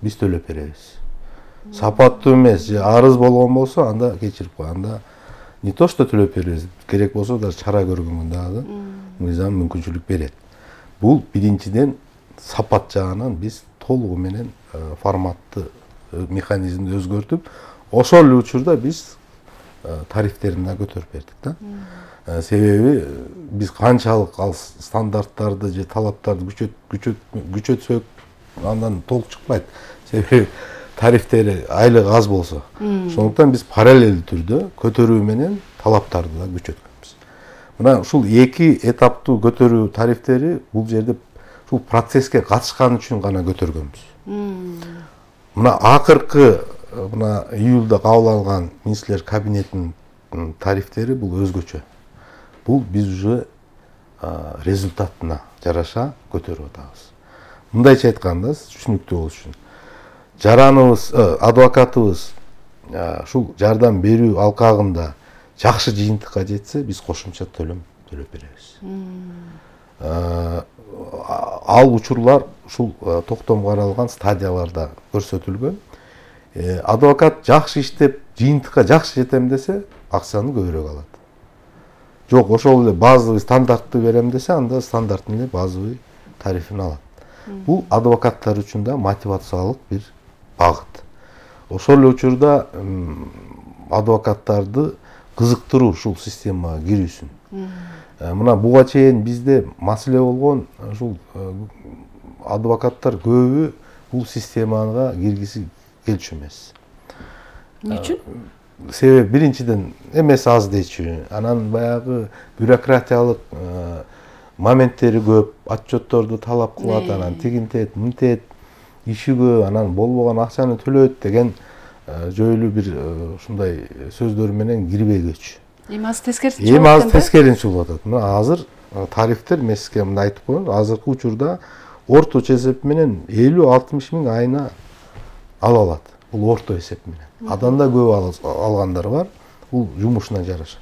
биз төлөп беребиз. Сапаттуу эмес же арыз болгон болсо анда кечирип кой. Анда не то что төлөп беребиз, керек болсо да чара көргөнгө дагы мыйзам мүмкүнчүлүк берет. Бул биринчиден сапат жагынан биз толугу менен форматты механизмди өзгөртүп, ошол эле учурда биз тарифтерин да көтөрүп бердик да. Себеби биз канчалык ал стандарттарды же талаптарды күчөтсөк, андан толук чыкпайт. Себеби тарифтери айлык аз болсо. Ошондуктан биз параллелдүү түрдө көтөрүү менен талаптарды да күчөткөнбүз. Мына ушул эки этаптуу көтөрүү тарифтери бул жерде ушул процесске катышкан үчүн гана көтөргөнбүз. Мына акыркы мына июлда кабыл алган министрлер кабинетинин тарифтери бул өзгөчө. Бул биз уже результатына жараша көтөрүп атабыз. Мындайча айтканда, түшүнүктүү болуш үчүн, жараныбыз, адвокатыбыз ушул жардам берүү алкагында жакшы жыйынтыкка жетсе, биз кошумча төлөм төлөп беребиз. Ал учурлар ушул токтомго каралган стадияларда көрсөтүлгөн. Адвокат жакшы иштеп, жыйынтыкка жакшы жетем десе, акчаны көбүрөөк алат. Жок, ошол эле базовый стандартты берем десе, анда стандарттын эле базовый тарифин алат. Бул адвокаттар үчүн да мотивациялык бир багыт. Ошол эле учурда адвокаттарды кызыктыруу ушул системага кирүүсүн. Мына буга чейин бизде маселе болгон, ушул адвокаттар көбү бул системага киргиси келчү эмес. Эмне үчүн? Себеби биринчиден эмес аз дечү, анан баягы бюрократиялык моменттери көп, отчетторду талап кылат, анан тигинтет, мынтет, иши көп, анан болбогон акчаны төлөйт деген жөйлүү бир ушундай сөздөр менен кирбей көчү. Эми азыр тескерисинче болуп атат. Эми азыр тескерисинче болуп атат. Мына азыр тарифтер мен сизге мындай айтып коеюн, азыркы учурда орточо эсеп менен 50-60 миң айына ала алат. Бул орто эсеп менен. Адан да көп алгандар бар. Бул жумушуна жараша.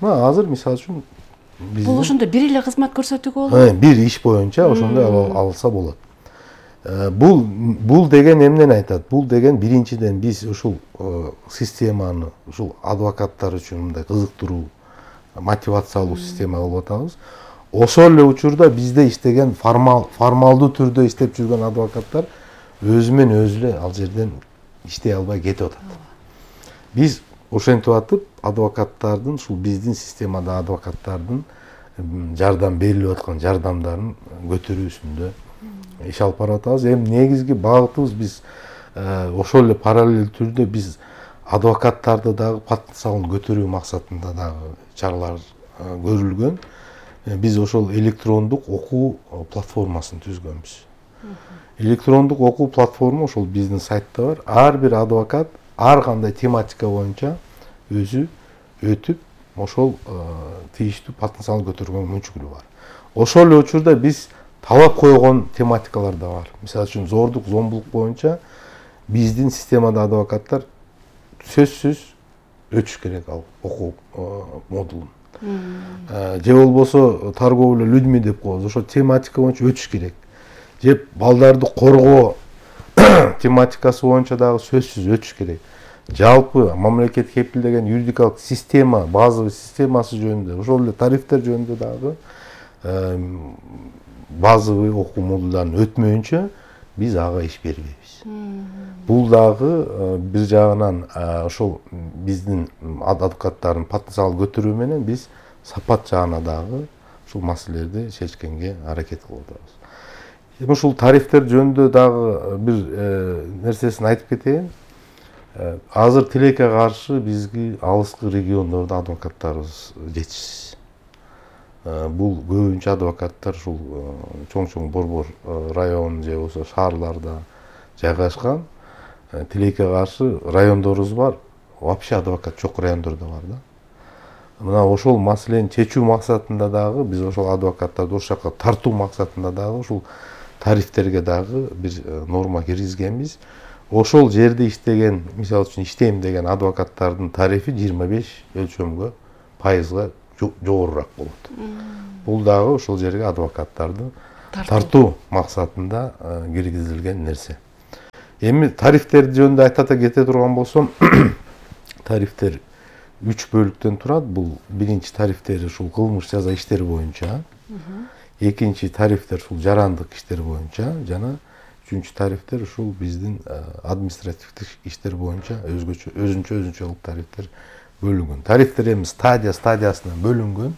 Мына азыр мисалы үчүн бул ошондо бир эле кызмат көрсөтүүгө болот. Бир иш боюнча ошондой алса болот. Бул деген эмнени айтат? Бул деген биринчиден биз ушул системаны, ушул адвокаттар үчүн мындай кызыктыруу, мотивациялуу система кылып атабыз. Ошол эле учурда бизде иштеген формалдуу түрдө иштеп жүргөн адвокаттар өзүмен өзү эле ал жерден иштей албай кетип атат. Биз ошентип атып адвокаттардын, ушул биздин системада адвокаттардын жардам берилип аткан жардамдарын көтөрүүсүндө иш алып барып атабыз. Эми негизги багытыбыз биз ошол эле параллель түрдө биз адвокаттарды дагы потенциалын көтөрүү максатында дагы чаралар көрүлгөн. Биз ошол электрондук окуу платформасын түзгөнбүз. Электрондук окуу платформа ошол биздин сайтта бар. Ар бир адвокат ар кандай тематика боюнча өзү өтүп, ошол тийиштүү потенциалын көтөргөнгө мүмкүнчүлүгү бар. Ошол эле учурда биз талап койгон тематикалар да бар. Мисалы үчүн зордук, зомбулук боюнча биздин системада адвокаттар сөзсүз өтүш керек ал окуу модулун. Же болбосо торговля людьми деп коебуз. Ошо тематика боюнча өтүш керек. Же балдарды коргоо тематикасы боюнча дагы сөзсүз өтүш керек. Жалпы мамлекет кепилдеген юридикалык система, базовый системасы жөнүндө, ошол эле тарифтер жөнүндө дагы базовый окуу модулдарын өтмөйүнчө биз ага иш бербейбиз. Бул дагы бир жагынан ошол биздин адвокаттардын потенциалын көтөрүү менен биз сапат жагына дагы ушул маселелерди чечкенге аракет кылып атабыз. Эми ушул тарифтер жөнүндө дагы бир нерсесин айтып кетейин. Азыр тилекке каршы бизги алыскы региондордо адвокаттарыбыз жетишсиз. Бул көбүнчө адвокаттар ушул чоң борбор район же болбосо шаарларда жайгашкан. Тилекке каршы райондорубуз бар. Вообще адвокат жок райондор да бар да. Мына ошол маселени чечүү максатында дагы биз ошол адвокаттарды ошол жака тартуу максатында дагы ушул тарифтерге дагы бир норма киргизгенбиз. Ошол жерде иштеген, мисалы үчүн иштейм деген адвокаттардын тарифи 25 өлчөмгө пайызга жогорураак болот. Бул дагы ошол жерге адвокаттарды тартуу максатында киргизилген нерсе. Эми тарифтер жөнүндө айтата кете турган болсом, тарифтер 3 бөлүктөн турат. Бул биринчи тарифтер ушул кылмыш жаза иштери боюнча, экинчи тарифтер ушул жарандык иштер боюнча жана үчүнчү тарифтер ушул биздин административдик иштер боюнча өзүнчө кылып тарифтер бөлүнгөн. Тарифтер эми стадиясына бөлүнгөн.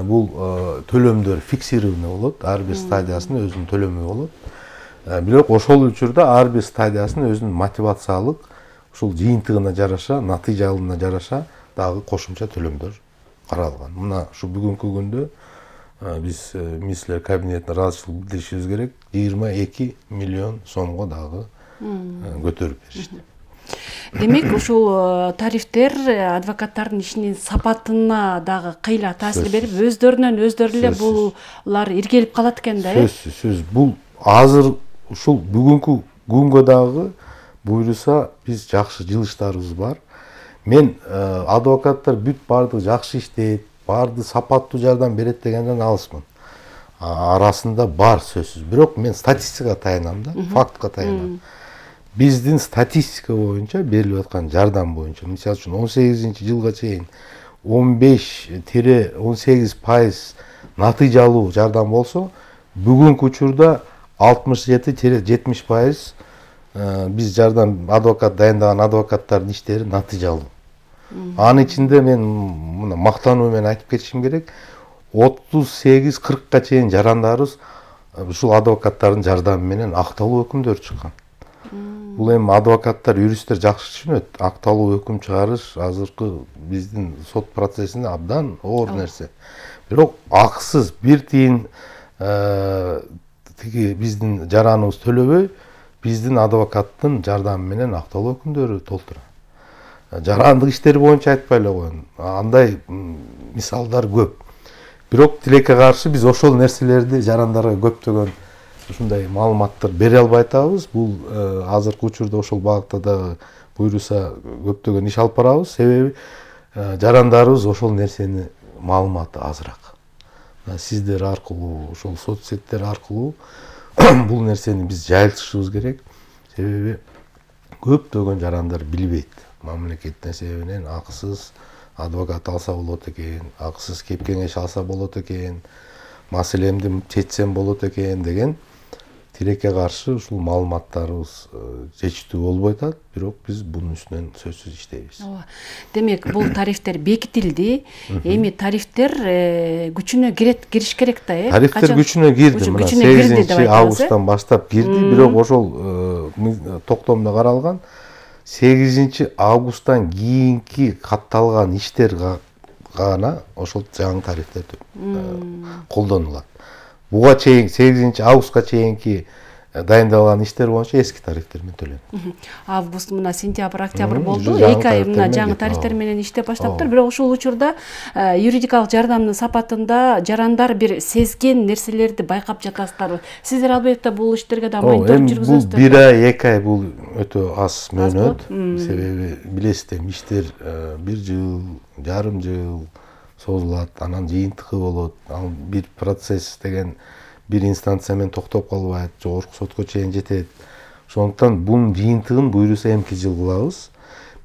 Бул төлөмдөр фиксированный болот. Ар бир стадиясынын өзүнүн төлөмү болот. Бирок ошол учурда ар бир стадиясынын өзүнүн мотивациялык ушул жыйынтыгына жараша, натыйжалына жараша дагы кошумча төлөмдөр каралган. Мына ушу бүгүнкү күндө биз министрлер кабинетине ыраазычылык билдиришибиз керек. 22 миллион сомго дагы көтөрүп беришти. Демек, ушул тарифтер адвокаттардын ишинин сапатына дагы кыйла таасир берип, өздөрү эле булар иргелип калат экен да, Сөзсүз. Бул азыр ушул бүгүнкү күнгө дагы буйруса биз жакшы жылыштарыбыз бар. Мен адвокаттар бүт баардыгы жакшы иштейт, баардыгы сапаттуу жардам берет дегенден алысмын. Арасында бар сөзсүз. Бирок мен статистикага таянам да, фактка таянам. Биздин статистика боюнча берилип аткан жардам боюнча, мисалы үчүн 18-жылга чейин 15-18% натыйжалуу жардам болсо, бүгүнкү учурда 67-70% биз жардам адвокат дайындаган адвокаттардын иштери натыйжалуу. Анын ичинде мен мына мактануу менен айтып кетишим керек, 38-40ка чейин жарандарыбыз ушул адвокаттардын жардамы менен акталуу өкүмдөр чыккан. Бул эми адвокаттар, юристтер жакшы түшүнөт. Акталуу өкүм чыгарыш азыркы биздин сот процессинде абдан оор нерсе. Бирок акысыз бир тиын тиги биздин жараныбыз төлөбөй, биздин адвокаттын жардамы менен акталуу өкүмдөрү толтурат. Жарандык иштери боюнча айтпай эле коеюн. Андай мисалдар көп. Бирок тилекке каршы биз ошол нерселерди жарандарга көптөгөн ушундай маалыматтар бере албай атабыз. Бул азыркы учурда ошол багытта да буйруса көптөгөн иш алып барабыз. Себеби жарандарыбыз ошол нерсени маалыматы азыраак. Сиздер аркылуу, ошол соцсеттер аркылуу бул нерсени биз жайылтышыбыз керек. Себеби көптөгөн жарандар билбейт. Мамлекеттин себебинен акысыз адвокат алса болот экен, акысыз кеп кеңеш алса болот экен, маселемди чечсем болот экен деген тилекке каршы ушул маалыматтарыбыз жетиштүү болбой атат. Бирок биз бунун үстүнөн сөзсүз иштейбиз. Ооба. Демек, бул тарифтер бекитилди. Эми тарифтер күчүнө кириш керек да, Тарифтер күчүнө кирди. Мына 8-августтан баштап кирди, бирок ошол токтомдо каралган 8-августтан кийинки катталган иштер гана ошол жаңы тарифтер колдонулат. Буга чейин 8-августка чейинки дайындалган иштер боюнча эски тарифтер менен төлөнөт. Август мына сентябрь, октябрь болду. 2 ай мына жаңы тарифтер менен иштеп баштаптыр. Бирок ушул учурда юридикалык жардамдын сапатында жарандар бир сезген нерселерди байкап жатасыздарбы? Сиздер албетте бул иштерге да мониторинг жүргүзөсүздөр. Бул 1 ай, 2 ай бул өтө аз мөөнөт. Себеби билесиздер, иштер 1 жыл, жарым жыл созулат, анан жыйынтыгы болот. Ал бир процесс деген бир инстанция менен токтоп калбайт, жогорку сотко чейин жетет. Ошондуктан бунун жыйынтыгын буйруса эмки жыл кылабыз.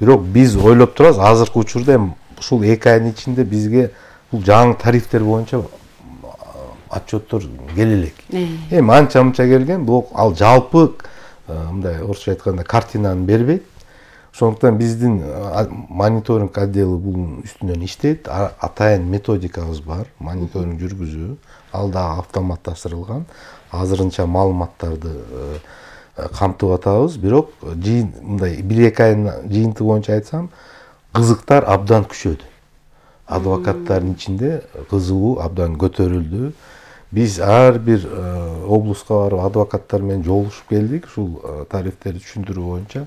Бирок биз ойлоп турабыз, азыркы учурда эми ушул 2 айдын ичинде бизге бул жаңы тарифтер боюнча отчеттор келе элек. Эми анча-мынча келген, бирок ал жалпы мындай орусча айтканда картинаны бербейт. Ошондуктан биздин мониторинг отделы бунун үстүнөн иштейт. Атайын методикабыз бар, мониторинг жүргүзүү. Ал да автоматташтырылган. Азырынча маалыматтарды камтып атабыз. Бирок мындай 1-2 айдын жыйынтыгы боюнча айтсам, кызыктар абдан күчөдү. Адвокаттардын ичинде кызыгуу абдан көтөрүлдү. Биз ар бир облуска барып адвокаттар менен жолугушуп келдик. Ушул тарифтерди түшүндүрүү боюнча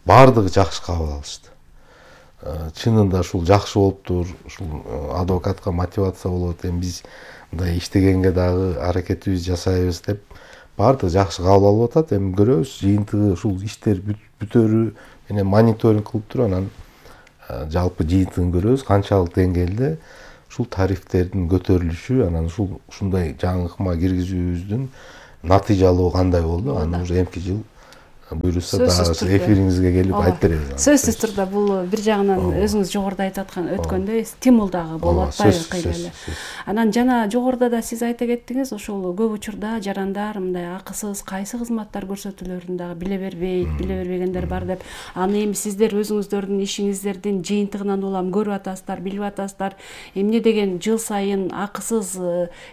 баардыгы жакшы кабыл алышты. Чынында ушул жакшы болуптур, ушул адвокатка мотивация болот, эми биз мындай иштегенге дагы аракетибизди жасайбыз деп баардыгы жакшы кабыл алып атат. Эми көрөбүз, жыйынтыгы ушул иштер бүтөрү менен мониторинг кылып туруп, анан жалпы жыйынтыгын көрөбүз, канчалык деңгээлде ушул тарифтердин көтөрүлүшү, анан ушундай жаңы ыкма киргизүүбүздүн натыйжалуу кандай болду, анан уже эмки жыл буюрса дагы эфириңизге келип айтып беребиз. Сөзсүз турда бул бир жагынан өзүңүз жогоруда айтып аткан өткөндөй стимул дагы болуп атпайбы кыйла эле. Анан жана жогоруда да сиз айта кеттиңиз, ошол көп учурда жарандар мындай акысыз кайсы кызматтар көрсөтүлөрүн дагы биле бербегендер бар деп. Аны эми сиздер өзүңүздөрдүн ишиңиздердин жыйынтыгынан улам көрүп атасыздар, билип атасыздар. Эмне деген жыл сайын акысыз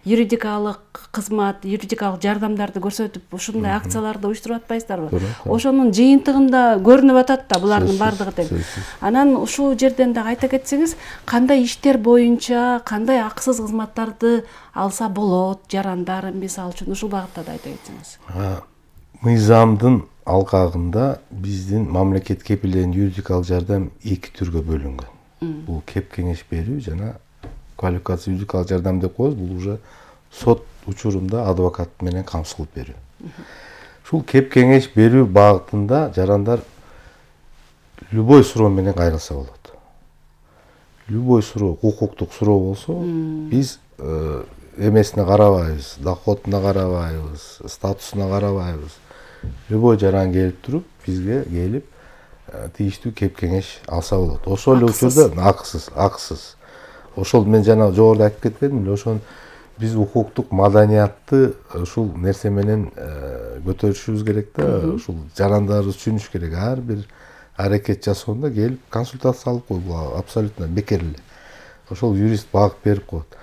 юридикалык кызмат, юридикалык жардамдарды көрсөтүп, ушундай акцияларды уюштуруп атпайсыздарбы? Ошонун жыйынтыгында көрүнүп атат да булардын бардыгы тең. Анан ушул жерден дагы айта кетсеңиз, кандай иштер боюнча кандай акысыз кызматтарды алса болот жарандар мисалы үчүн ушул багытта да айта кетсеңиз. Мыйзамдын алкагында биздин мамлекет кепилдеген юридикалык жардам эки түргө бөлүнгөн. Бул кеп кеңеш берүү жана квалификация юридикалык жардам деп коебуз. Бул уже сот учурунда адвокат менен камсыз кылып берүү. Ушул кеп кеңеш берүү багытында жарандар любой суроо менен кайрылса болот. Любой суроо, укуктук суроо болсо, биз эмесине карабайбыз, доходуна карабайбыз, статусуна карабайбыз. Любой жаран келип туруп, бизге келип тийиштүү кеп кеңеш алса болот. Ошол эле учурда акысыз. Ошол мен жана жогоруда айтып кетпедимби, ошон биз укуктук маданиятты ушул нерсе менен көтөрүшүбүз керек да, ушул жарандарыбыз түшүнүш керек. Ар бир аракет жасоонда келип консультация алып кой, бул абсолютно бекер эле. Ошол юрист багыт берип коет.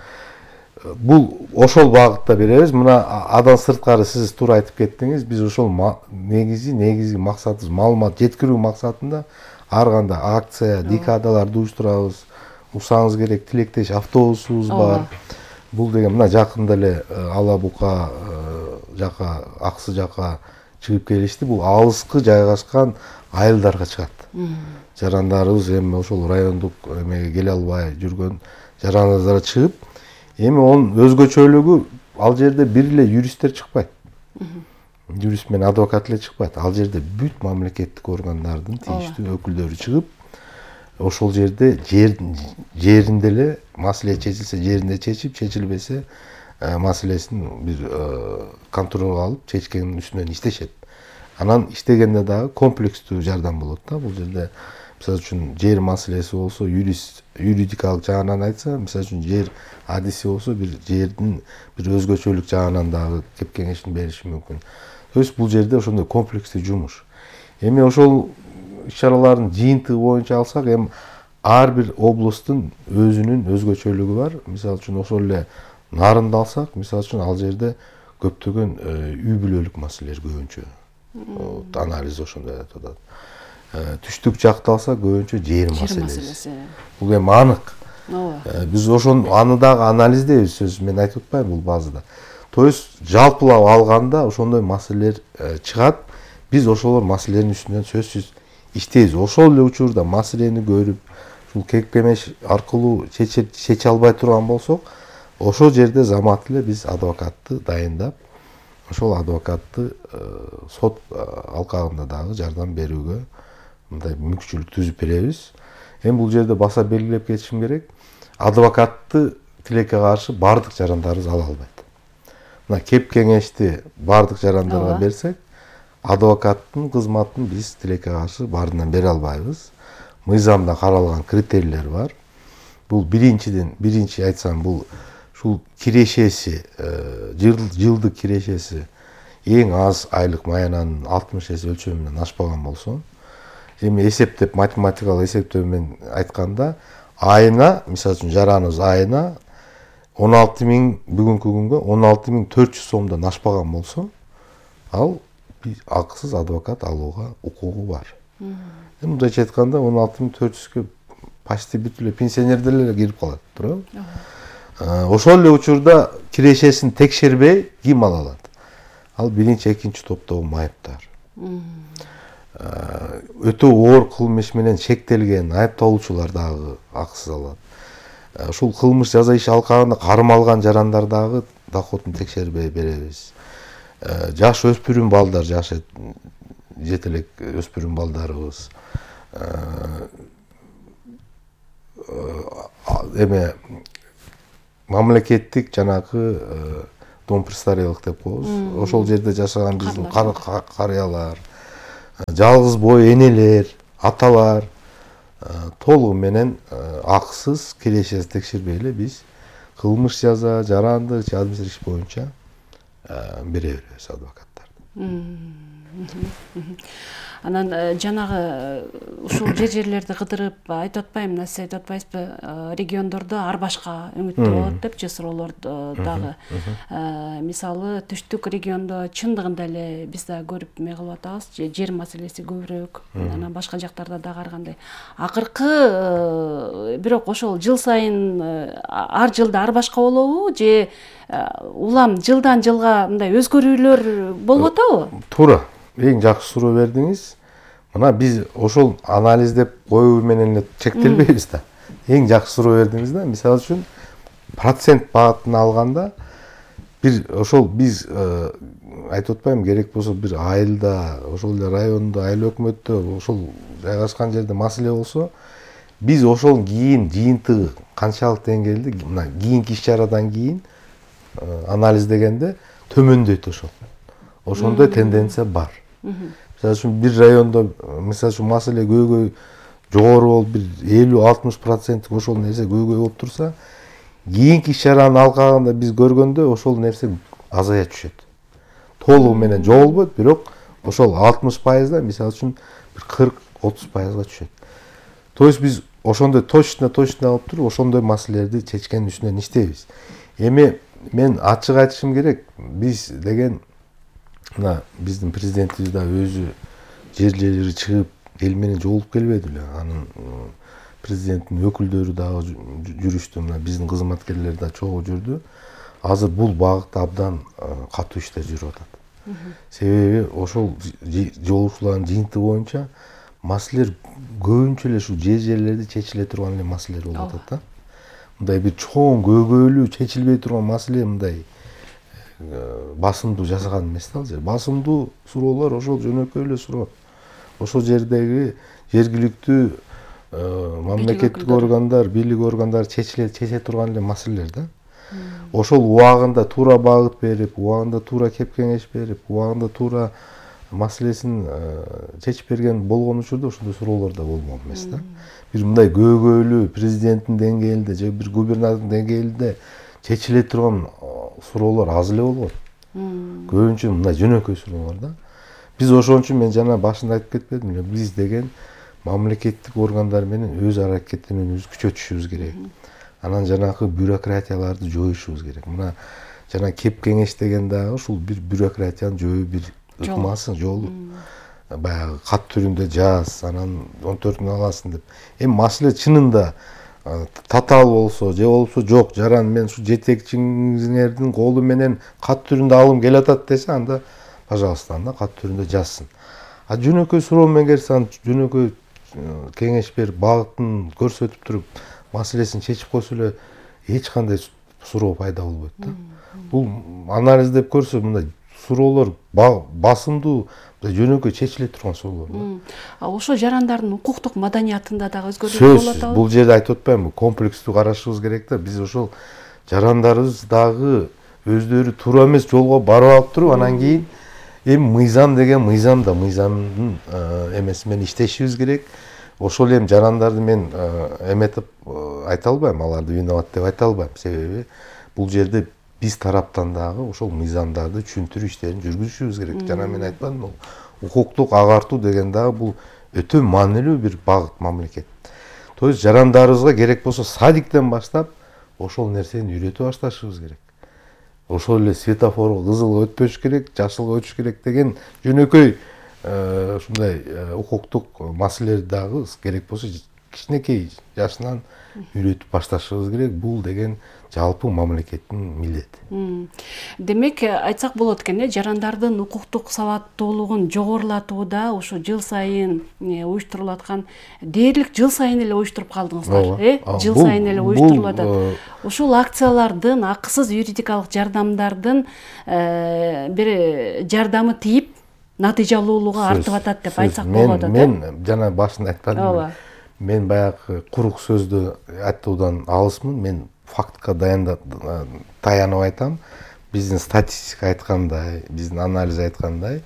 Бул ошол багытта беребиз. Мына адан сырткары сиз туура айтып кеттиңиз. Биз ошол негизги максатыбыз маалымат жеткирүү максатында ар кандай акция, декадаларды уюштурабыз. Урсаңыз керек, тилектеш автобусубуз бар. Бул деген мына жакында эле Ала Бука жака, Аксы жака чыгып келишти. Бул алыскы жайгашкан айылдарга чыгат. Жарандарыбыз эми ошол райондук эмеге келе албай жүргөн жарандарга чыгып, эми онун өзгөчөлүгү ал жерде бир эле юристтер чыкпайт. Юрист менен адвокат эле чыкпайт. Ал жерде бүт мамлекеттик органдардын тийиштүү өкүлдөрү чыгып, ошол жерде жеринде эле маселе чечилсе жеринде чечип, чечилбесе маселесин бир контролго алып, чечкенин үстүнөн иштешет. Анан иштегенде дагы комплекстүү жардам болот да. Бул жерде мисалы үчүн жер маселеси болсо, юридикалык жагынан айтса, мисалы үчүн жер адиси болсо, бир жердин бир өзгөчөлүк жагынан дагы кеп кеңешин бериши мүмкүн. То есть бул жерде ошондой комплекстүү жумуш. Эми ошол иш-чаралардын жыйынтыгы боюнча алсак, эми ар бир облустун өзүнүн өзгөчөлүгү бар. Мисалы үчүн ошол эле Нарынды алсак, мисалы үчүн ал жерде көптөгөн үй бүлөлүк маселелер көбүнчө. Анализ ошондой атат. Түштүк жакты алсак, көбүнчө жер маселеси. Бул эми анык. Биз аны дагы анализдейбиз, сөз мен айтып атпайм бул базада. То есть жалпылап алганда ошондой маселелер чыгат. Биз ошолор маселелердин үстүнөн сөзсүз иштейбиз. Ошол эле учурда маселени көрүп, ушул кеп кеңеш аркылуу чече албай турган болсок, ошол жерде замат эле биз адвокатты дайындап, ошол адвокатты сот алкагында дагы жардам берүүгө мындай мүмкүнчүлүк түзүп беребиз. Эми бул жерде баса белгилеп кетишим керек. Адвокатты тилекке каршы бардык жарандарыбыз ала албайт. Мына кеп кеңешти бардык жарандарга берсек, адвокаттын кызматын биз тилекке каршы баарынан бере албайбыз. Мыйзамда каралган критерийлер бар. Бул биринчи айтсам, бул ушул кирешеси, жылдык кирешеси эң аз айлык маянанын 60 эсе өлчөмүнөн ашпаган болсо, эми эсептеп, математикалык эсептөө менен айтканда, айына, мисалы үчүн жараныбыз айына 16.000 бүгүнкү күнгө 16.400 сомдон ашпаган болсо, ал акысыз адвокат алууга укугу бар. Эми мындайча айтканда 16.400-кө почти бүт эле пенсионердер эле кирип калат, туурабы? Ошол эле учурда кирешесин текшербей ким ала алат? Ал биринчи, экинчи топтогу майыптар. Өтө оор кылмыш менен шектелген айыпталуучулар дагы акысыз алат. Ушул кылмыш жаза иши алкагында кармалган жарандар дагы доходун текшербей беребиз. Жаш өспүрүм балдар, жаш жетелек өспүрүм балдарыбыз. Эме мамлекеттик жанагы дом престарелых деп коебуз. Ошол жерде жашаган биздин карыялар, жалгыз бой энелер, аталар толугу менен акысыз кирешеси текшербей эле биз кылмыш жаза, жарандык же административдик иш боюнча бере беребиз адвокаттарды. Анан жанагы ушул жерлерди кыдырып айтып атпаймынбы, мына сиз айтып атпайсызбы, региондордо ар башка үмүттүү болот депчи суроолорду дагы. Мисалы түштүк региондо чындыгында эле биз да көрүп эме кылып атабыз, жер маселеси көбүрөөк, анан башка жактарда дагы ар кандай. Акыркы бирок ошол жыл сайын ар жылда ар башка болобу же улам жылдан жылга мындай өзгөрүүлөр болуп атабы? Туура. Эң жакшы суроо бердиңиз. Мына биз ошол анализдеп коюу менен эле чектелбейбиз да. Эң жакшы суроо бердиңиз да. Мисалы үчүн процент багытын алганда бир ошол биз айтып атпаймынбы, керек болсо бир айылда, ошол эле райондо, айыл өкмөттө ошол жайгашкан жерде маселе болсо, биз ошол кийин жыйынтыгы канчалык деңгээлде, мына кийинки иш чарадан кийин анализдегенде төмөндөйт ошол. Ошондой тенденция бар. Мисалы үчүн бир райондо мисалы үчүн маселе көйгөй жогору болуп бир 50-60% ошол нерсе көйгөй болуп турса, кийинки иш чаранын алкагында биз көргөндө ошол нерсе азая түшөт. Толугу менен жогобойт, бирок ошол 60%да мисалы үчүн бир 40-30%га түшөт. То есть биз ошондой точно алып туруп ошондой маселелерди чечкен үстүнөн иштейбиз. Эми мен ачык айтышым керек, биз деген мына биздин президентибиз да өзү жерлери чыгып эл менен жолугуп келбеди беле. Анын президенттин өкүлдөрү дагы жүрүштү, мына биздин кызматкерлер да чогуу жүрдү. Азыр бул багытта абдан катуу иштер жүрүп атат. Себеби ошол жолугушуулардын жыйынтыгы боюнча маселелер көбүнчө эле ушу жерлерде чечиле турган эле маселелер болуп атат да. Мындай бир чоң көйгөйлүү чечилбей турган маселе мындай басымдуу жасаган эмес да. Басымдуу суроолор ошол жөнөкөй эле суроо. Ошол жердеги жергиликтүү мамлекеттик органдар, бийлик органдары чече турган эле маселелер да. Ошол убагында туура багыт берип, убагында туура кеп кеңеш берип, убагында туура маселесин чечип берген болгон учурда ошондой суроолор да болмок эмес да. Бир мындай көйгөйлүү президенттин деңгээлинде же бир губернатордун деңгээлинде чечиле турган суроолор аз эле болгон. Көбүнчө мындай жөнөкөй суроолор да. Биз ошон үчүн мен жана башында айтып кетпедимби эле, биз деген мамлекеттик органдар менен өз аракеттенүүбүздү күчөтүшүбүз керек. Анан жанагы бюрократияларды жоюшубуз керек. Мына жана кеп кеңеш деген дагы ушул бир бюрократияны жоюу бир ыкмасы, жолу. Баягы кат түрүндө жаз, анан 14-күн аласың деп. Эми маселе чынында татаал болсо же болбосо жок, жаран мен ушу жетекчиңердин колу менен кат түрүндө алым келатат десе, анда пожалуйста, анда кат түрүндө жазсын. А жөнөкөй суроо менен келсе, жөнөкөй кеңеш берип, багытын көрсөтүп туруп, маселесин чечип койсо эле эч кандай суроо пайда болбойт да. Бул анализдеп көрсө мындай суроолор басымдуу, жөнөкөй чечиле турган суроолор да. Ошо жарандардын укуктук маданиятында дагы өзгөрүүлөр болуп атабы? Бул жерде айтып атпаймынбы, комплекстүү карашыбыз керек да. Биз ошол жарандарыбыз дагы өздөрү туура эмес жолго барып алып туруп, анан кийин эми мыйзам деген мыйзамдын эмеси менен иштешибиз керек. Ошол эми жарандарды мен эметип айта албайм, аларды виноват деп айта албайм. Себеби бул жерде биз тараптан дагы ошол мыйзамдарды түшүндүрүү иштерин жүргүзүшүбүз керек. Жана мен айтпадымбы, укуктук агартуу деген дагы бул өтө маанилүү бир багыт мамлекет. То есть жарандарыбызга керек болсо садиктен баштап ошол нерсени үйрөтө башташыбыз керек. Ошол эле светофорго кызылга өтпөш керек, жашылга өтүш керек деген жөнөкөй ушундай укуктук маселелерди дагы керек болсо кичинекей жашынан үйрөтүп башташыбыз керек. Бул деген жалпы мамлекеттин милдети. Демек, айтсак болот экен, жарандардын укуктук сабаттуулугун жогорулатууда ушу жыл сайын уюштурулуп аткан, дээрлик жыл сайын эле уюштуруп калдыңыздар, жыл сайын эле уюштурулуп атат. Ушул акциялардын, акысыз юридикалык жардамдардын бир жардамы тийип, натыйжалуулугу артып атат деп айтсак болот. Мен жана башында айтканымдай, мен баягы курук сөздү айтуудан алысмын. Мен фактка таянып айтам. Биздин статистика айткандай, биздин анализ айткандай,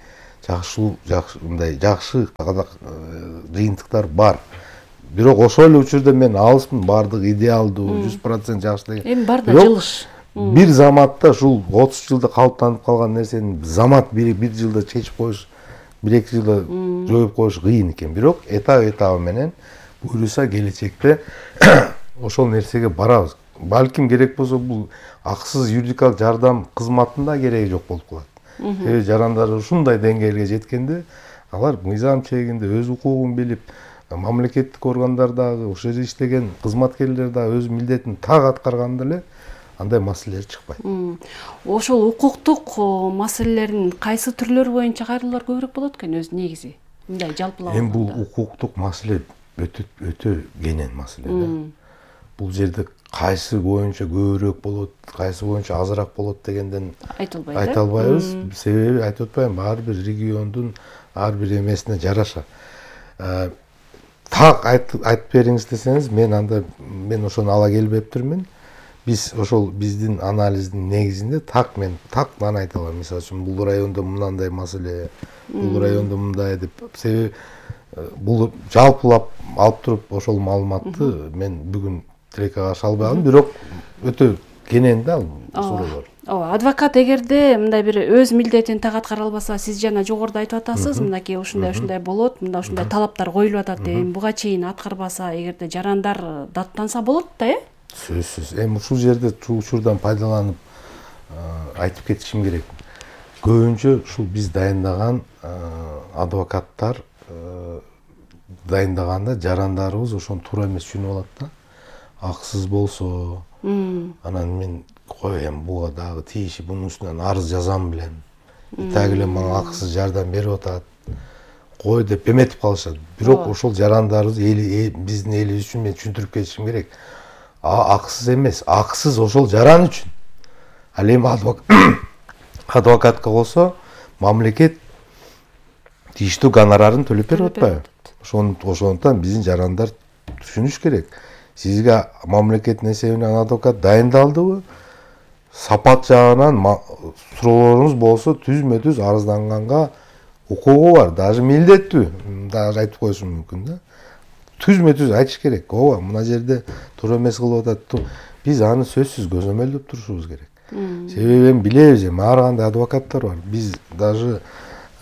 мындай жакшы жыйынтыктар бар. Бирок ошол эле учурда мен алыспын баардык идеалдуу 100% жакшы деген. Эми бар да жылыш. Бир заматта ушул 30 жылда калыптанып калган нерсени замат бир жылда чечип коюш, 1-2 жылда жоюп коюш кыйын экен. Бирок этап менен буюрса келечекте ошол нерсеге барабыз. Балким керек болсо бул акысыз юридикалык жардам кызматында кереги жок болуп калат. Себеби жарандар ушундай деңгээлге жеткенде алар мыйзам чегинде өз укугун билип, мамлекеттик органдар дагы, ошол жерде иштеген кызматкерлер дагы өз милдетин так аткарганда эле андай маселелер чыкпайт. Ошол укуктук маселелердин кайсы түрлөрү боюнча кайрылуулар көбүрөөк болот экен өзү негизи? Мындай жалпылап эми бул укуктук маселе өтө кенен маселе да. Бул жерде кайсы боюнча көбүрөөк болот, кайсы боюнча азыраак болот дегенден айта албайбыз. Себеби айтып атпайбы, ар бир региондун ар бир эмесине жараша. Так айтып бериңиз десеңиз, мен ошону ала келбептирмин. Биз ошол биздин анализдин негизинде мен тактан айта алам. Мисалы үчүн бул райондо мындай маселе, бул райондо мындай деп. Себеби бул жалпылап алып туруп ошол маалыматты мен бүгүн тилекке каршы албай калдым, бирок өтө кенен да ал суроолор. Ооба, адвокат эгерде мындай бир өз милдетин так аткара албаса, сиз жана жогоруда айтып атасыз, мынакей ушундай болот, мында ушундай талаптар коюлуп атат, буга чейин аткарбаса, эгерде жарандар даттанса болот да, Сөзсүз. Эми ушул жерде учурдан пайдаланып айтып кетишим керек. Көбүнчө ушул биз дайындаган адвокаттар дайындаганда жарандарыбыз ошону туура эмес түшүнүп алат да. Акысыз болсо, анан мен коем буга дагы тийиши, бунун үстүнөн арыз жазам билем. Так эле мага акысыз жардам берип атат. Кой деп эметип калышат. Бирок ошол жарандарыбыз биздин элибиз үчүн мен түшүндүрүп кетишим керек. Акысыз эмес, акысыз ошол жаран үчүн. Ал эми адвокатка болсо мамлекет тийиштүү гонорарын төлөп берип атпайбы? Ошондуктан биздин жарандар түшүнүш керек. Сизге мамлекеттин эсебинен адвокат дайындалдыбы? Сапат жагынан суроолоруңуз болсо түзмө-түз арызданганга укугу бар, даже милдеттүү. Даже айтып коюшум мүмкүн да. Түзмө-түз айтыш керек. Ооба, мына жерде туура эмес кылып атат. Биз аны сөзсүз көзөмөлдөп турушубуз керек. Себеби эми билебиз, ар кандай адвокаттар бар. Биз даже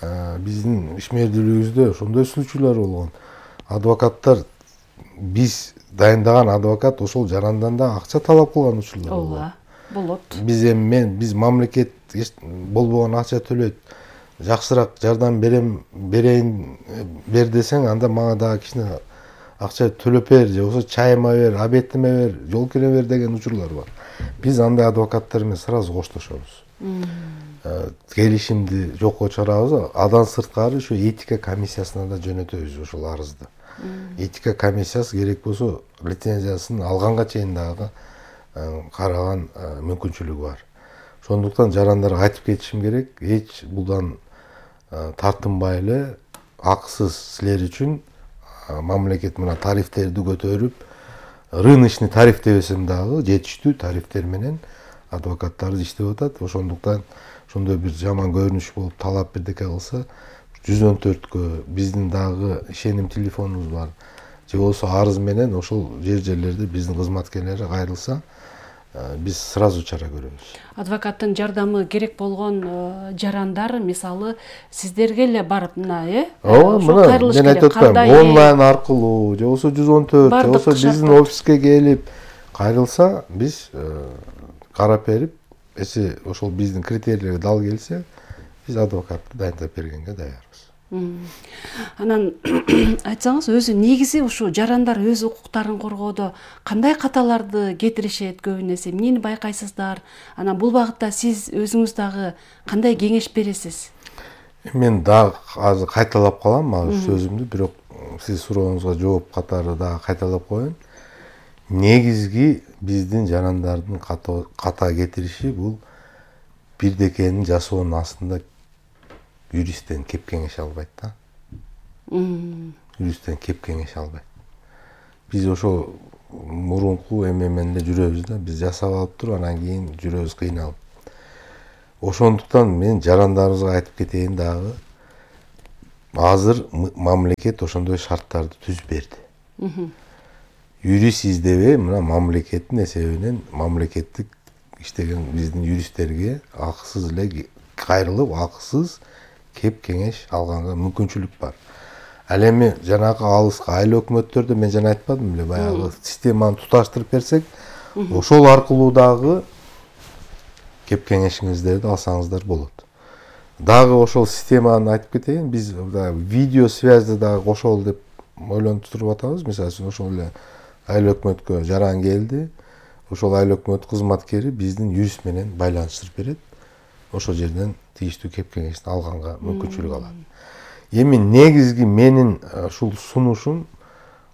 биздин ишмердүүлүгүбүздө ошондой случайлар болгон. Адвокаттар биз дайындаган адвокат ошол жарандан да акча талап кылган учурлар ооба, болот. Биз мамлекет болбогон акча төлөйт. Жакшыраак жардам бер десең, анда мага дагы кичине акча төлөп бер, же болбосо чайыма бер, обедиме бер, жол кире бер деген учурлар бар. Биз андай адвокаттар менен сразу коштошобуз. Келишимди жокко чыгарабыз. Адан сырткары ошо этика комиссиясына да жөнөтөбүз ошол арызды. Этика комиссиясы керек болсо лицензиясын алганга чейин дагы караган мүмкүнчүлүгү бар. Ошондуктан жарандарга айтып кетишим керек, эч булдан тартынбай эле акысыз силер үчүн мамлекет мына тарифтерди көтөрүп, рыночный тариф дебесем дагы жетиштүү тарифтер менен адвокаттарыбыз иштеп атат. Ошондуктан ошондой бир жаман көрүнүш болуп талап бирдеке кылса 114кө биздин дагы ишеним телефонубуз бар. Же болбосо арыз менен ошол жерлерде биздин кызматкерлери кайрылса, биз сразу чара көрөбүз. Адвокаттын жардамы керек болгон жарандар мисалы сиздерге эле барып мына, Ооба, мына мен айтып атпаймынбы, онлайн аркылуу, же болбосо 114, же болбосо биздин офиске келип кайрылса, биз карап берип, эси ошол биздин критерийлерге дал келсе, биз адвокатты дайындап бергенге даярбыз. Анан айтсаңыз, өзү негизи ушу жарандар өз укуктарын коргоодо кандай каталарды кетиришет көбүн эсе, эмнени байкайсыздар? Анан бул багытта сиз өзүңүз дагы кандай кеңеш бересиз? Мен дагы азыр кайталап калам ал сөзүмдү, бирок сиз сурооңузга жооп катары дагы кайталап коеюн. Негизги биздин жарандардын ката кетириши бул бирдекени жасоонун астында юристтен кеп кеңеш албайт да. Юристтен кеп кеңеш албайт. Биз ошо мурунку менен эле жүрөбүз да, биз жасап алып туруп, анан кийин жүрөбүз кыйналып. Ошондуктан мен жарандарыбызга айтып кетейин дагы, азыр мамлекет ошондой шарттарды түзүп берди. Юрист издебей, мына мамлекеттин эсебинен мамлекеттик иштеген биздин юристтерге акысыз эле кайрылып, акысыз кеп кеңеш алганга мүмкүнчүлүк бар. Ал эми жанагы алыска айыл өкмөттөрдө мен жана айтпадым беле, баягы системаны туташтырып берсек, ошол аркылуу дагы кеп кеңешиңиздерди алсаңыздар болот. Дагы ошол системаны айтып кетейин, биз видео связьды дагы кошолу деп ойлонуп туруп атабыз. Мисалы үчүн ошол эле айыл өкмөткө жаран келди, ошол айыл өкмөт кызматкери биздин юрист менен байланыштырып берет. Ошол жерден тийиштүү кеп кеңешин алганга мүмкүнчүлүк алат. Эми негизги менин ушул сунушум,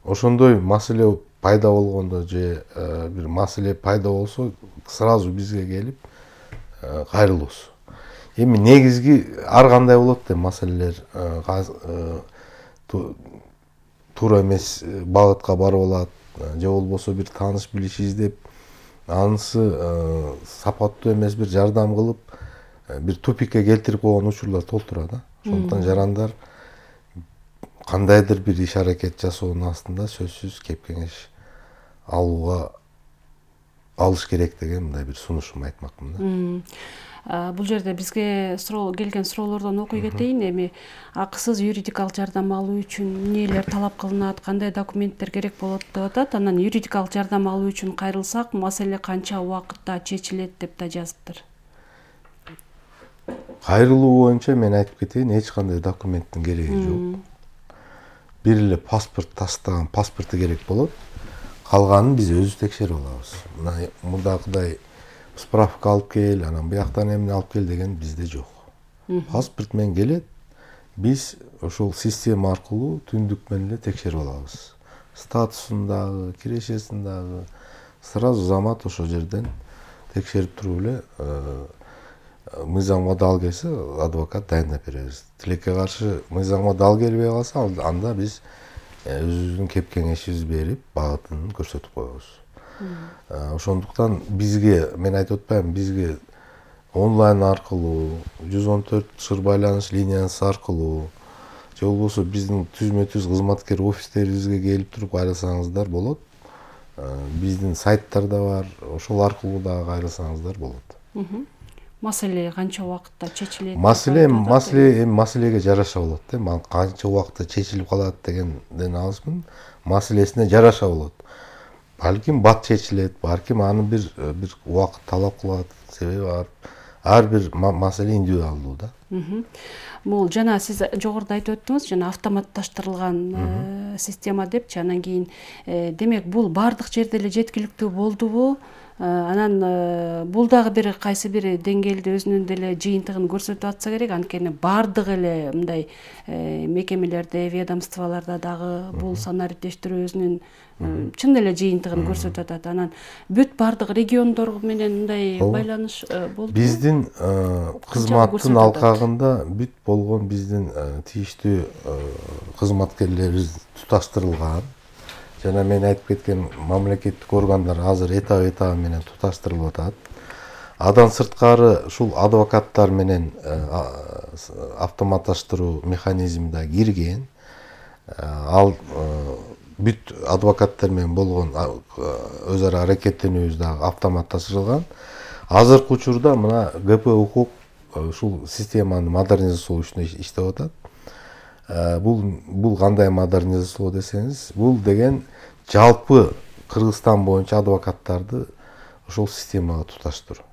ошондой маселе пайда болгондо же бир маселе пайда болсо сразу бизге келип кайрылуусу. Эми негизги ар кандай болот деп маселелер туура эмес багытка барып алат, же болбосо бир тааныш билиш издеп, анысы сапаттуу эмес бир жардам кылып, бир тупикке келтирип койгон учурлар толтура да. Ошондуктан жарандар кандайдыр бир иш аракет жасоонун астында сөзсүз кеп кеңеш алыш керек деген мындай бир сунушум айтмакмын да. Бул жерде бизге келген суроолордон окуй кетейин. Эми акысыз юридикалык жардам алуу үчүн эмнелер талап кылынат, кандай документтер керек болот деп атат. Анан юридикалык жардам алуу үчүн кайрылсак, маселе канча убакытта чечилет деп да жазыптыр. Кайрылуу боюнча мен айтып кетейин, эч кандай документтин кереги жок. Бир эле паспорт тастаган паспорту керек болот. Калганын биз өзүбүз текшерип алабыз. Мына мындагыдай справка алып кел, анан бияктан эмне алып кел деген бизде жок. Паспорт менен келет, биз ошол система аркылуу түндүк менен эле текшерип алабыз. Статусун дагы, кирешесин дагы сразу замат ошол жерден текшерип туруп эле мыйзамга дал келсе адвокат дайындап беребиз. Тилекке каршы мыйзамга дал келбей калса, анда биз өзүбүздүн кеп кеңешибиз берип, багытын көрсөтүп коебуз. Ошондуктан бизге, мен айтып атпайбы, бизге онлайн аркылуу, 114 шыр байланыш линиясы аркылуу, же болбосо биздин түзмө-түз кызматкер офистерибизге келип туруп кайрылсаңыздар болот. Биздин сайттар да бар, ошол аркылуу дагы кайрылсаңыздар болот. Маселе канча убакытта чечилет? Маселеге жараша болот да. Канча убакытта чечилип калат дегенден алысмын. Маселесине жараша болот. Балким бат чечилет, балким аны бир убакыт талап кылат, себеби бар. Ар бир маселе индивидуалдуу да. Бул жана сиз жогоруда айтып өттүңүз, жана автоматташтырылган система депчи. Анан кийин демек бул бардык жерде эле жеткиликтүү болдубу? Анан бул дагы бир кайсы бир деңгээлде өзүнүн деле жыйынтыгын көрсөтүп атса керек. Анткени бардык эле мындай мекемелерде, ведомстволордо дагы бул санариптештирүү өзүнүн чын эле жыйынтыгын көрсөтүп атат. Анан бүт бардык региондор менен мындай байланыш болду. Биздин кызматтын алкагында бүт болгон биздин тийиштүү кызматкерлерибиз туташтырылган. Жана мен айтып кеткен мамлекеттик органдар азыр этап менен туташтырылып атат. Адан сырткары ушул адвокаттар менен автоматташтыруу механизми да кирген. Ал бүт адвокаттар менен болгон өз ара аракеттенүүбүз дагы автоматташтырылган. Азыркы учурда мына ГП укук ушул системаны модернизациялоо үчүн иштеп атат. Бул кандай модернизациялоо десеңиз, бул деген жалпы Кыргызстан боюнча адвокаттарды ошол системага туташтыруу.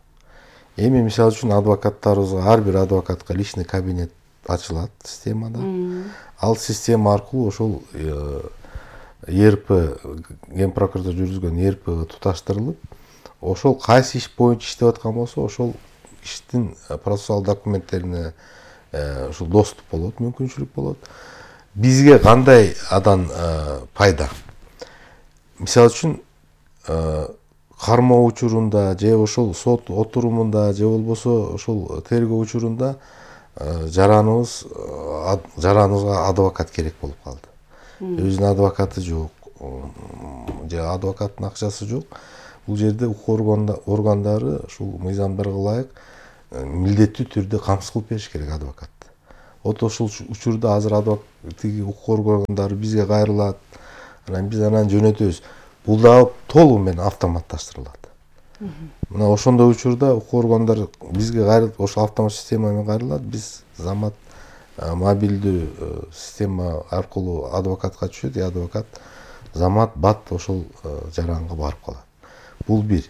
Эми мисалы үчүн адвокаттарыбызга, ар бир адвокатка личный кабинет ачылат системада. Ал система аркылуу ошол ЕРП, Ген прокуратура жүргүзгөн ЕРПга туташтырылып, ошол кайсы иш боюнча иштеп аткан болсо, ошол иштин процессуал документтерине ушул доступ болот, мүмкүнчүлүк болот. Бизге кандай адан пайда? Мисалы үчүн кармоо учурунда же ошол сот отурумунда же болбосо ошол тергөө учурунда жараныбызга адвокат керек болуп калды. Өзүнүн адвокаты жок, же адвокаттын акчасы жок. Бул жерде укук органдары ушул мыйзамдарга ылайык милдеттүү түрдө камсыз кылып бериш керек адвокатты. ошол учурда азыр тиги укук органдары бизге кайрылат, анан биз анан жөнөтөбүз. Бул дагы толугу менен автоматташтырылат. Мына ошондой учурда укук органдары бизге кайрылып, ошол автомат система менен кайрылат. Биз замат мобилдүү система аркылуу адвокатка түшөт, адвокат замат бат ошол жаранга барып калат. Бул бир.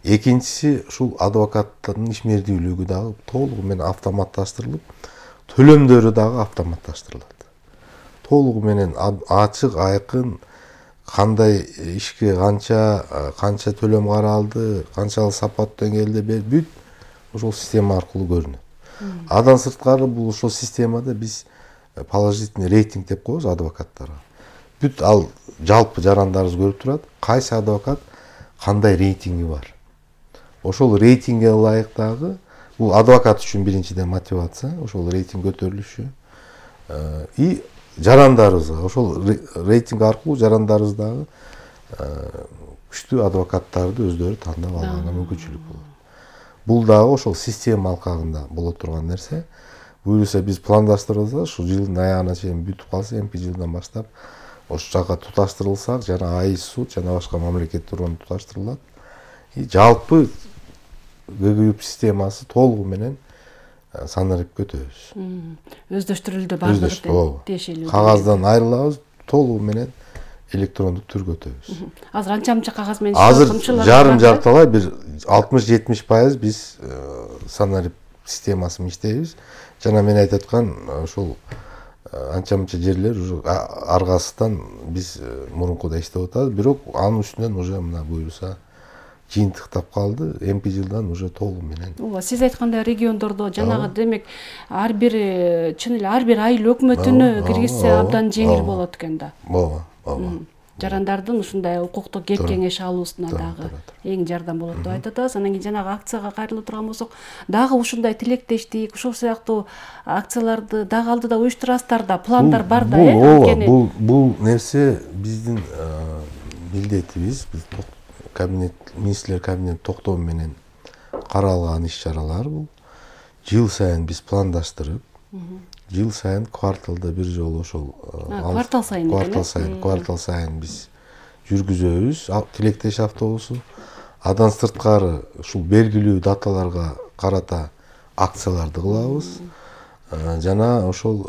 Экинчиси, ушул адвокаттын ишмердүүлүгү дагы толугу менен автоматташтырылып, төлөмдөрү дагы автоматташтырылат. Толугу менен ачык, айкын, кандай ишке канча төлөм каралды, канчалык сапат деңгээлде бүт ошол система аркылуу көрүнөт. Андан сырткары бул ошол системада биз положительный рейтинг деп коебуз адвокаттарга. Бүт ал жалпы жарандарыбыз көрүп турат, кайсы адвокат кандай рейтинги бар. Ошол рейтингге ылайык дагы бул адвокат үчүн биринчиден мотивация, ошол рейтинг көтөрүлүшү. И жарандарыбызга ошол рейтинг аркылуу жарандарыбыз дагы күчтүү адвокаттарды өздөрү тандап алганга мүмкүнчүлүк болот. Бул дагы ошол система алкагында боло турган нерсе. Буюрса биз пландаштырылса, ушул жылдын аягына чейин бүтүп калса, эмки жылдан баштап ошол жака туташтырылсак, жана АИС суд жана башка мамлекеттик орган туташтырылат. И жалпы ГГЮП системасы толугу менен санарип көтөбүз. Өздөштүрүлдү бардыгы тиешелүү. Кагаздан айрылабыз, толугу менен электрондук түргө өтөбүз. Азыр анча-мынча кагаз менен азыр жарым жартылай бир 60-70% биз санарип системасы менен иштейбиз. Жана мен айтып аткан ошол анча-мынча жерлер уже аргасынан биз мурункудай иштеп атабыз. Бирок анын үстүнөн уже мына буюрса жыйынтыктап калды. Эмки жылдан уже толугу менен. Ооба, сиз айткандай региондордо жанагы демек ар бир чын эле ар бир айыл өкмөтүнө киргизсе абдан жеңил болот экен да. Ооба. Жарандардын ушундай укуктук кеп кеңеш алуусуна дагы эң жардам болот деп айтып атабыз. Анан кийин жанагы акцияга кайрылып турган болсок, дагы ушундай тилектештик, ушул сыяктуу акцияларды дагы алдыда уюштурасыздар да, пландар бар да, ооба, бул нерсе биздин милдетибиз, биз министрлер кабинети токтому менен каралган иш-чаралар бул. Жыл сайын биз пландаштырып, жыл сайын кварталда бир жолу ошол квартал сайын биз жүргүзөбүз тилектеш автобусу. Андан сырткары ушул белгилүү даталарга карата акцияларды кылабыз. Жана ошол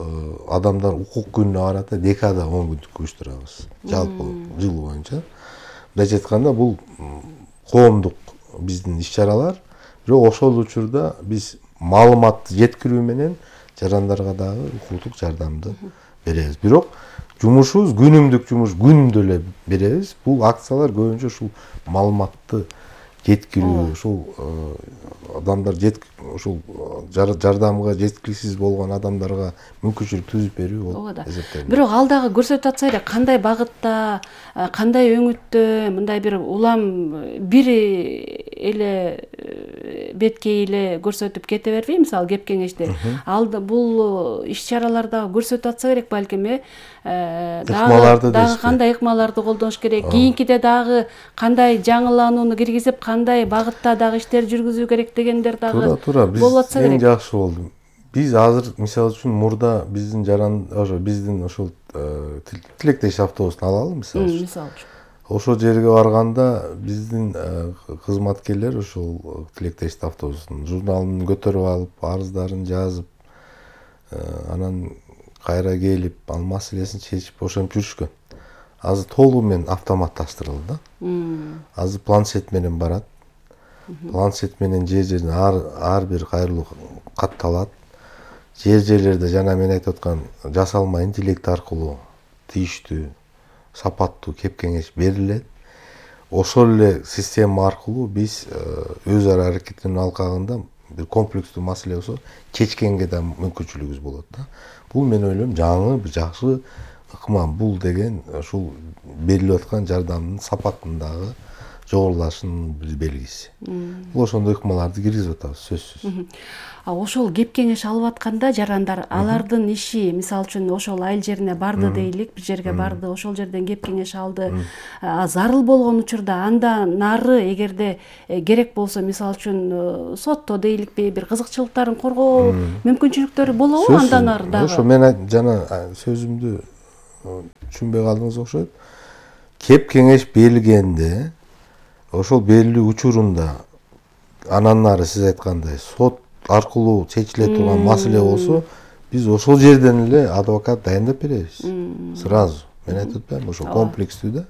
адамдар укук күнүнө карата декада 10 күндүк уюштурабыз. Жалпы жыл боюнча. Мындайча айтканда бул коомдук биздин иш-чаралар, бирок ошол учурда биз маалыматты жеткирүү менен жарандарга дагы укуктук жардамды беребиз. Бирок жумушубуз күнүмдүк жумуш, күндө эле беребиз. Бул акциялар көбүнчө ушул маалыматты жеткирүү, ушул адамдар ушул жардамга жеткиликсиз болгон адамдарга мүмкүнчүлүк түзүп берүү болуп эсептелет. Бирок ал дагы көрсөтүп атса эле кандай багытта, кандай өңүттө мындай бир улам бир эле беткей эле көрсөтүп кете бербей, мисалы кеп кеңеште. Ал бул иш-чараларда көрсөтүп атса керек балким, дагы кандай ыкмаларды колдонуш керек, кийинкиде дагы кандай жаңыланууну киргизип, кандай багытта дагы иштер жүргүзүү керек дегендер дагы болуп атса керек. Эң жакшы болду. Биз азыр мисалы үчүн мурда биздин биздин ошол тилектеш автобусун алалы мисалы үчүн. Ошол жерге барганда биздин кызматкерлер ошол тилектеш автобусунун журналын көтөрүп алып, арыздарын жазып, анан кайра келип, ал маселесин чечип ошентип жүрүшкөн. Азыр толугу менен автоматташтырылды да. Азыр планшет менен барат. Планшет менен жер-жерден ар бир кайрылуу катталат. Жер-жерлерде жана мен айтып аткан жасалма интеллект аркылуу тийиштүү, сапаттуу кеп кеңеш берилет. Ошол эле система аркылуу биз өз ара аракеттенүү алкагында бир комплекстүү маселе болсо чечкенге да мүмкүнчүлүгүбүз болот да. Бул мен ойлойм жаңы бир жакшы ыкма. Бул деген ушул берилип аткан жардамдын сапатындагы жогорулашынын бир белгиси. Бул ошондой ыкмаларды киргизип атабыз сөзсүз. Ошол кеп кеңеш алып атканда жарандар алардын иши, мисалы үчүн ошол айыл жерине барды дейлик, бир жерге барды, ошол жерден кеп кеңеш алды. Зарыл болгон учурда андан нары эгерде керек болсо, мисалы үчүн сотто дейликпи, бир кызыкчылыктарын коргоо мүмкүнчүлүктөрү болобу андан ары дагы? Ошо мен жана сөзүмдү түшүнбөй калдыңыз окшойт. Кеп кеңеш берилгенде ошол берилүү учурунда анан нары сиз айткандай сот аркылуу чечиле турган маселе болсо, биз ошол жерден эле адвокат дайындап беребиз. Сразу. Мен айтып атпаймынбы, ошо комплекстүү да.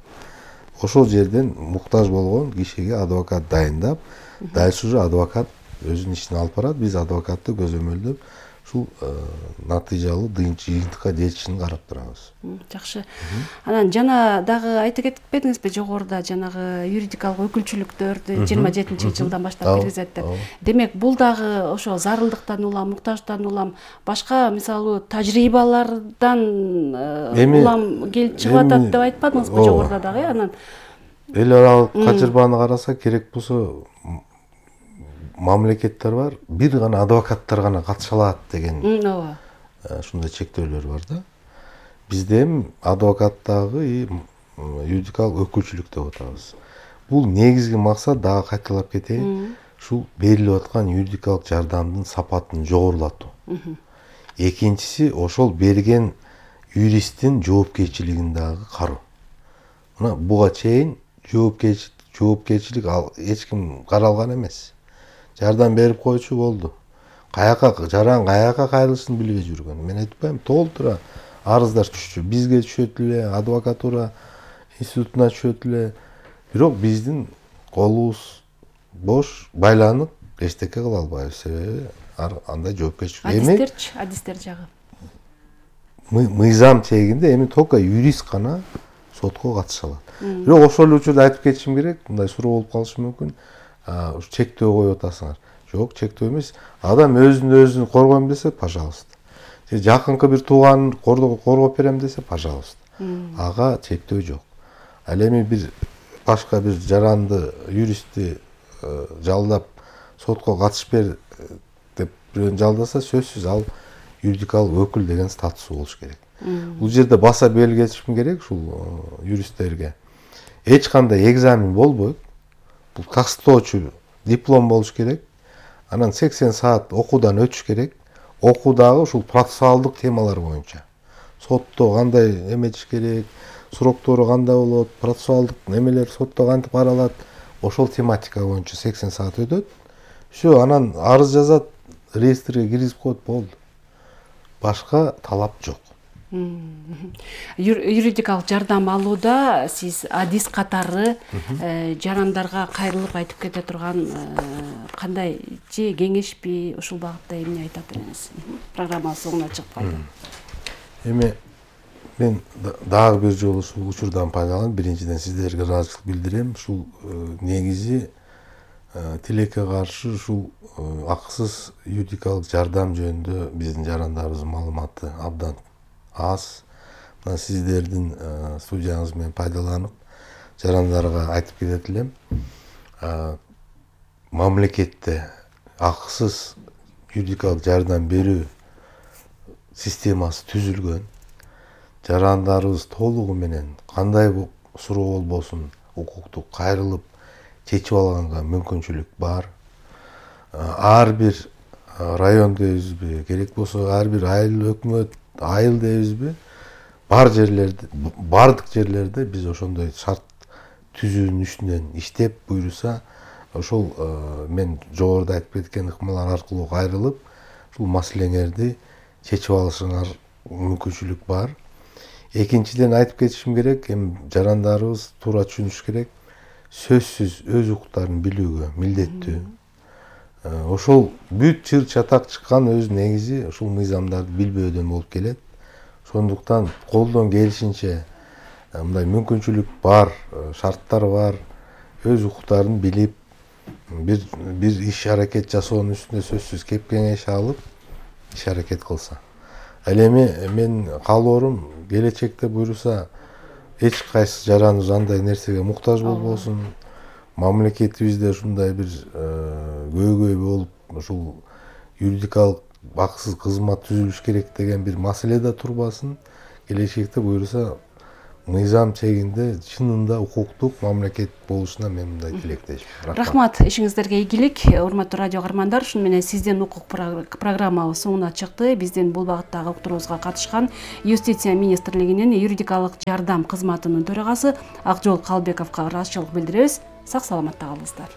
Ошол жерден муктаж болгон кишиге адвокат дайындап, дальше уже адвокат өзүнүн ишин алып барат. Биз адвокатты көзөмөлдөп, ушул натыйжалуу жыйынтыкка жетишин карап турабыз. Жакшы. Анан жана дагы айтып кетпедиңизби, жогоруда жанагы юридикалык өкүлчүлүктөрдү 27-жылдан баштап киргизет деп. Демек, бул дагы ошо зарылдыктан улам, муктаждыктан улам, башка мисалы тажрыйбалардан улам келип чыгып атат деп айтпадыңызбы жогоруда дагы? Анан эл аралык качырбаны караса, керек болсо мамлекеттер бар, бир гана адвокаттар гана катыша алат деген ушундай чектөөлөр бар да. Бизде эми адвокаттагы юридикалык өкүлчүлүк деп атабыз. Бул негизги максат, дагы кайталап кетейин, ушул берилип аткан юридикалык жардамдын сапатын жогорулатуу. Экинчиси, ошол берген юристтин жоопкерчилигин дагы кароо. Мына буга чейин жоопкерчилик эч ким каралган эмес. Жардам берип койчу болду. Жаран каяка кайрылышын билбей жүргөн. Мен айтпайм, толтура арыздар түшчү. Бизге түшөт эле, адвокатура институтуна түшөт эле. Бирок биздин колубуз бош, байланып, эчтеке кыла албайбыз. Себеби андай жоопкерчилик. Адистер жагы. Мыйзам чегинде эми только юрист гана сотко катыша алат. Бирок ошол эле учурда айтып кетишим керек, мындай суроо болуп калышы мүмкүн. Чектөө коюп атасыңар. Жок, чектөө эмес. Адам өзүн коргойм десе, пожалуйста. Же жакынкы бир тууганын коргоп берем десе, пожалуйста. Ага чектөө жок. Ал эми бир башка бир жаранды юристти жалдап сотко катышып бер деп бирөөнү жалдаса, сөзсүз ал юридикалык өкүл деген статусу болуш керек. Бул жерде баса белгилешим керек ушул юристтерге. Эч кандай экзамен болбойт. Бул тастоочу диплом болуш керек. Анан 80 саат окуудан өтүш керек. Окуудагы ушул процессуалдык темалар боюнча. Сотто кандай эметиш керек, сроктору кандай болот, процессуалдык немелер сотто кантип каралат, ошол тематика боюнча 80 саат өтөт. Всё, анан арыз жазат, реестрге киргизип коет, болду. Башка талап жок. Юридикалык жардам алууда сиз адис катары жарандарга кайрылып айтып кете турган кандай же кеңешпи, ушул багытта эмне айтат элеңиз? Программанын соңуна чыгып калды. Эми мен дагы бир жолу ушул учурдан пайдаланып, биринчиден сиздерге ыраазычылык билдирем. Ушул негизи тилекке каршы ушул акысыз юридикалык жардам жөнүндө биздин жарандарыбыздын маалыматы абдан аз. Мына сиздердин студияңыз менен пайдаланып, жарандарга айтып кетет элем. Мамлекетте акысыз юридикалык жардам берүү системасы түзүлгөн. Жарандарыбыз толугу менен кандай суроо болбосун укуктук кайрылып чечип алганга мүмкүнчүлүк бар. Ар бир район дейбизби, керек болсо ар бир айыл дейбизби, бардык жерлерде биз ошондой шарт түзүүнүн үстүнөн иштеп буйруса, ошол мен жогоруда айтып кеткен ыкмалар аркылуу кайрылып, ушул маселеңерди чечип алышыңар мүмкүнчүлүк бар. Экинчиден айтып кетишим керек, эми жарандарыбыз туура түшүнүш керек, сөзсүз өз укуктарын билүүгө милдеттүү. Ошол бүт чыр чатак чыккан өз негизи ушул мыйзамдарды билбөөдөн болуп келет. Ошондуктан колдон келишинче мындай мүмкүнчүлүк бар, шарттар бар, өз укуктарын билип, бир иш аракет жасоонун үстүнө сөзсүз кеп кеңеш алып, иш аракет кылса. Ал эми мен каалоорум келечекте буйруса эч кайсы жараныбыз андай нерсеге муктаж болбосун. мамлекетибизде ушундай бир көйгөй болуп ушул юридикалык акысыз кызмат түзүлүш керек деген бир маселе да турбасын. Келечекте буюрса мыйзам чегинде чынында укуктук мамлекет болушуна мен мындай тилектешмин. Рахмат, ишиңиздерге ийгилик. Урматтуу радио каармандар, ушуну менен сизден укук программабыз соңуна чыкты. Биздин бул багыттагы уктуруубузга катышкан Юстиция министрлигинин юридикалык жардам кызматынын төрагасы Акжол Калбековго ыраазычылык билдиребиз. Сак саламатта калыңыздар.